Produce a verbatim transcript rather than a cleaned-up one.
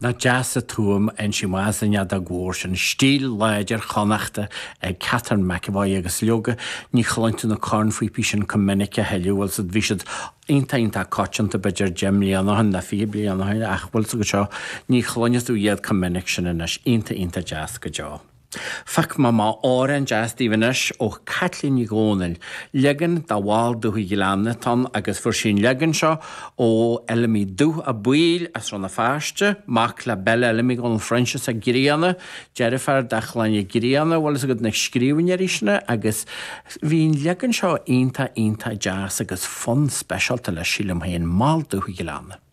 Nach deas an tuaim ansin más an fheadóg mhór sin, stíl láidir Chonnachta ag Catherine McEvoy agus leoga ní chluin tú na cornphíopaí sin chomh minic a thuilleadh, bhfuil siad, bhí siad iontach iontach coitianta b'fhéidir deich mbliana ó shin nó fiche bliain ó shin ach bhfuil 's agat seo, ní chluineann tú iad chomh minic sin anois, iontach iontach deas go deo. Phiocfaidh mé amach amhrán deas daoibh anois ó Chaitlín Ní Dhomhnaill. Leagan de Mhol Dúthaigh Ghleanna atá ann agus fuair sí an leagan seo ó Fheilimí Dubh Ó Baoill as Rann na Feirste, mac le Bella Fheilimí Dhónaill Phroinsias Ó Grianna, deirfiúr de Chlann Uí Ghrianna, bhfuil 'fhios agat na scríbhneoirí sin agus bhí an leagan seo iontach iontach deas agus fonn speisialta leis sílim féin, Mol Dúthaigh Ghleanna.